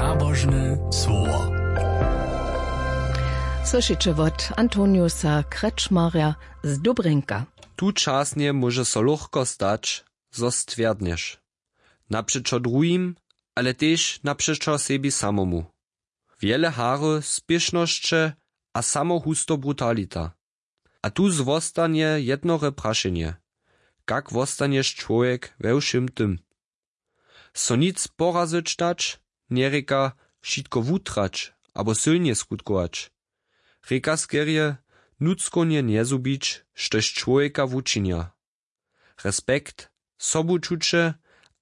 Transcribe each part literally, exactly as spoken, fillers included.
Nabožne słowo. Słyšiće wot Antoniusa Krečmarja z Dobrjenka. Tučasnje móže so lóchko stać, zo stwjerdnješ, napřećo druhim, ale tež napřećo sebi samomu. Wjele hary, spěšnosće a samohusto brutalita. A tu zwostanje jednore prašenje: kak wostanješ čłowjek we wšěm tym? So nic porazyć dać, njerěka wšitko wutrać abo sylnje skutkować. Rěka skerje: nutřkownje njezhubić, štož čłowjeka wučinja. Respekt, sobučuće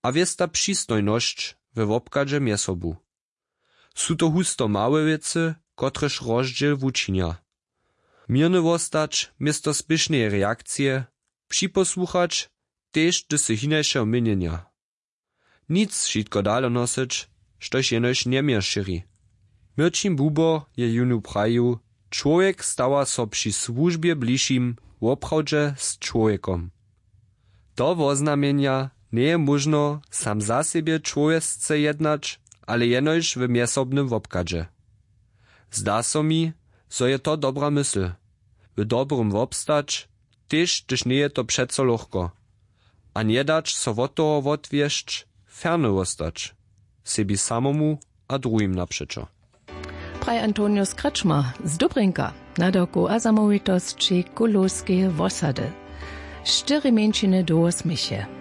a wěsta přistojnosć we wobchadźe mjez sobu. Su to husto małe wěcy, kotrež rozdźěl wučinja. Měrny wostać město spěšneje reakcije, připosłuchać, tež hdyž sy hinašeho měnjenja. Nic wšitko dale nosyć, štož jenož njeměr šěri. Měrćin Bubo je jónu prajił: čłowjek stawa so při słužbje bližšim woprawdźe z čłowjekom. To woznamjenja: njeje móžno sam za sebje čłowjesce jednać, ale jenož w mjezsobnym wobchadźe. Zda so mi, zo je to dobra mysl: w dobrym wobstać, tež hdyž njeje to přeco lóchko, a njedać so wot toho wotwjesć, ferny wostać sebi samomu a druhim napřećo. Praji Antonius Krečmar z Dobrjenka, nadawku a zamołwitosći Kulowskeje wosady. Štyri mjeńšiny dołho směch je.